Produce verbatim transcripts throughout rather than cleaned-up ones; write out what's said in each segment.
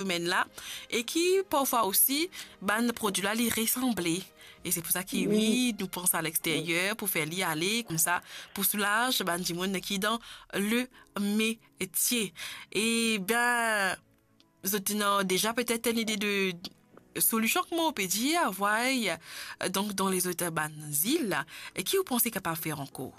domenn la, e ki parfwa osi bann prodwi la li resanble. E se pou sa ki, wi, nou pran sa a lexteryer pou fer li ale koumsa, pou soulaz bann dimoun ki dan le metie. E ben, zot ena deza petet enn ide de solusion, kouma ou pe dir, vway, donk dan lezot bann zil, e ki ou panse kapav fer ankor?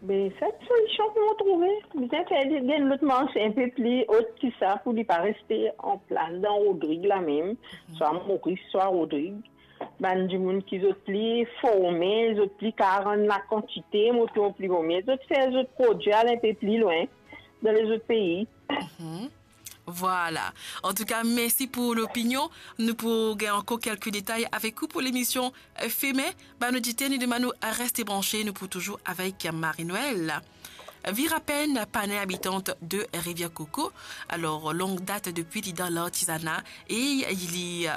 Be, sel solision ki mo trouve, bizin fer li gagn lot marse inpe pli ot ki sa, pou li pa reste anplas dan Rodrig la mem, swa Moris, swa Rodrig. Bann dimoun ki zot pli forme, zot pli kapav rann lakantite, mo trouv pli bone, zot fer zot prodwi al inpe pli lwin dan lezot pei. Vwala. Antouka, mersi pou lopinion. Nou pou gagn ankor kelke detay avek ou pou lemision, eh, Feme. Bann oditer, nou demann ou reste branche, nou pou touzour avek Marie-Noëlle Virapen Panin, abitant de Rivière Coco. Alor, long dat depi li dan lartizana e li, eh,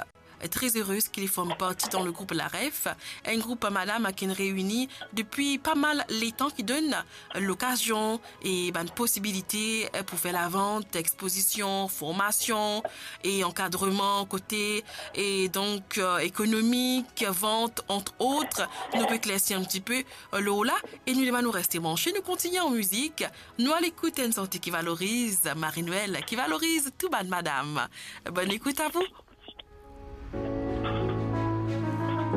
très heureuse ki li form parti dan le group Laref, enn group madam ki inn reini depi pa mal letan, ki donn lokazion e bann posibilite, eh, pou fer lavant, expozision, formasion e ankadreman kote, e donk, eh, ekonomik, vant, entre autres. Nou pe eklersi enn tipe, eh, lor la, e nou demann ou reste branche, nou kontigne an mizik, nou al ekout enn santi ki valoriz Marie-Noëlle, ki valoriz tou bann madam. Bonn ekout a vou.